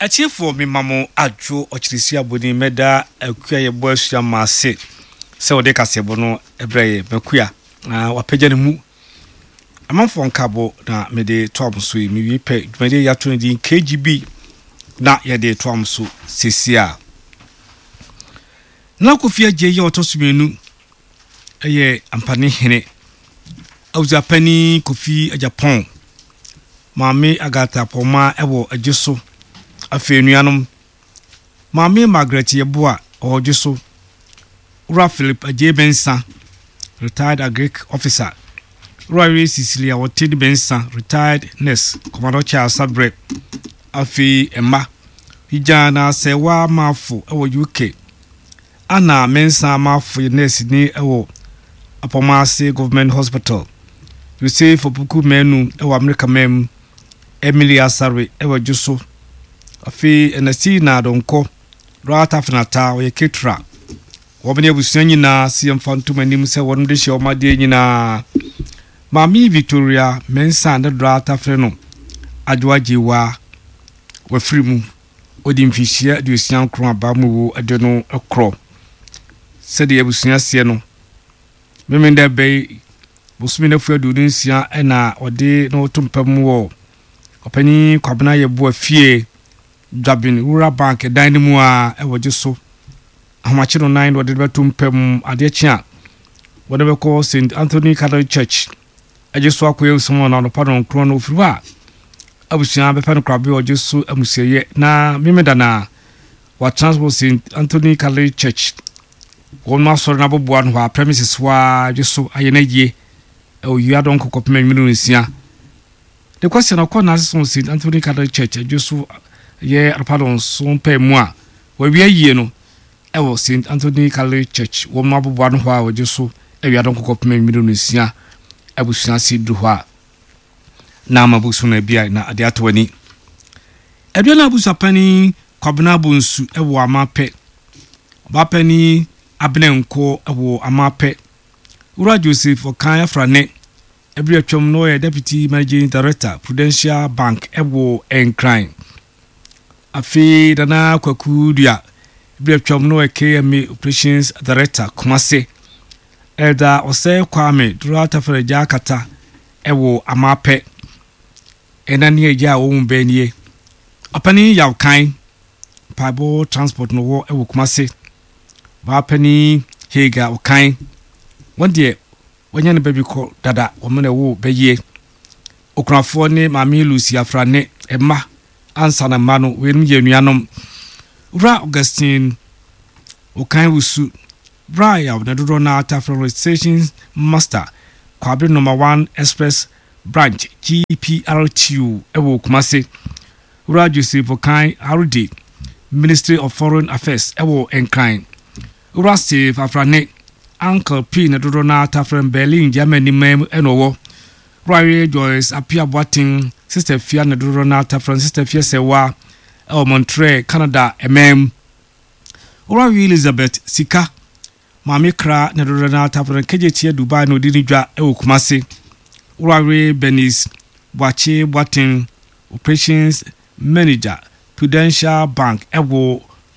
Atiefoɔ me ma mo adwo ɔkyeresi abɔni mɛda akua yɛbɔ asua ma ase sɛ ɔde kaseɛbɔ no brɛ yɛ makua na wapagya ne mu amanfoɔ nkabɔ na mede toa mo so yi mewie pɛ dwumadie yɛato no din KGB na yɛde toa mo so sesie a na Kofi Adjei yɛ ɔtɔ so mmienu yɛ Ampane hene, Abusuapanin Kofi Agyapong, Maame Agatha Pɔma wɔ Adwo so, afei anuanom, Maame Margaret Yeboah wɔ Adwo so, Wura Philip Adjei Mensah, retired Agric officer, Wura Yere Cecilia Oteng Mensah, retired nurse, Commodore Charles Sabrɛ, afei mma, Hijana Sɛwa Mafo wɔ UK, Anna Mensah Amarfo yɛ nɛɛseni wɔ Apɔmase Government Hospital, Yosef Opoku Manu wɔ Amerika man mu, Emily Asare wɔ Dwoso, afei Ernestina Donkor, Ralph Afenata ɔyɛ caterer. Wɔn ne abusua nyinaa se yɛmfa ntom anim sɛ wɔn de hyɛ wɔn adeɛ nyinaa. Maame Victoria Mensah ne Dora Tafere no, Adwoa Gyewa, wafiri mu. Ɔdi mfirihyia 69 aba mu wu de no korɔ. Sɛdeɛ abusua seɛ no, Memenda bɛ yi bosome no afua 26 na ɔde no to mpa mu wɔ Ɔpanin Kwabena Yeboah fie, Dwabin Rural Bank dan no mu a ɛwɔ gye so. Ahomakye no nan na ɔde no bɛto mpa mu. Adeɛ kye a, wɔde bɛkɔ St. Anthony Catholic Church Agye so akɔyɛ nsɛm wɔ anɔpa nɔnkron no ofiri hɔ a abusua bɛpɛ no korabea ɔgye so amusieyɛ na Memeda na watena wɔ St. Anthony Catholic Church wɔn asɔre no aboboa no hɔ a premises hɔ a agye so ayɛ no ayie ɛwɔ wia dɔnko kɔpem anwumere nsia ne kwasi na ɔkɔ n'ase wɔ St. Anthony Catholic Church agye so yɛ anɔpa nɔnson pɛɛ mu a wɔawie ayie no Wɔ St. Anthony Catholic Church wɔn aboboa no hɔ a wɔgye so awia dɔnko kɔpem anwummere nnɔnsia abusua ase duru hɔ a na ama bosom no abia na ade atɔ ani. Aduana abusuapanin Kwabena Bonsu wɔ Amapɛ, Ɔbaapanin Abena Nkoɔ wɔ Amapɛ, Wura Joseph Ɔkan Afrane bere atwam no ɔyɛ Deputy Managing Director Prudential Bank wɔ Nkran. Afei Nana Kwaku Dua, bere atwam no ɔyɛ KMA Operations Director Kumase. Elder Osei Kwame Dora Tafere Gya Akata wɔ Amapɛ. Ɛna ne agya a wɔn mu bɛn nie. Ɔpanin Yaw Kan, mpaebɔ transport no wɔ wɔ Kumase. Ɔbaapanin Hagar Okan, wɔn deɛ Wanya ne ba bi kɔ dada, wɔn na ɛwoo bɛ yie. Okunafoɔ ne Maame Lucy Afrane mma ansa na mma no, weinom yɛ anuanom. Wura Augustine Okan Wusu, Bra Yaw na dodoɔ no ara taa frɛ no Station Master, Kwabre Number One Express Branch, GPRTU, wɔ Kumasi. Wura Joseph Okan RD, Ministry of Foreign Affairs wɔ Nkran. Wura Steve Afrane, Uncle P na dodoɔ no ara taa frɛ no Berlin, Germany man mu na ɔwɔ. Wura Yere Joyce Appiah Boateng, Sister Fia na dodoɔ no ara taa frɛ no Sister Fia Sewaa wɔ Montreal, Canada man mu. Wura Yere Elizabeth Sika, Maame Kra na dodoɔ no ara taa frɛ no Kegyetia Dubai na ɔdi ne dwa wɔ Kumasi. Wura Yere Bernice Boakye Boateng, Operations Manager, Prudential Bank wɔ.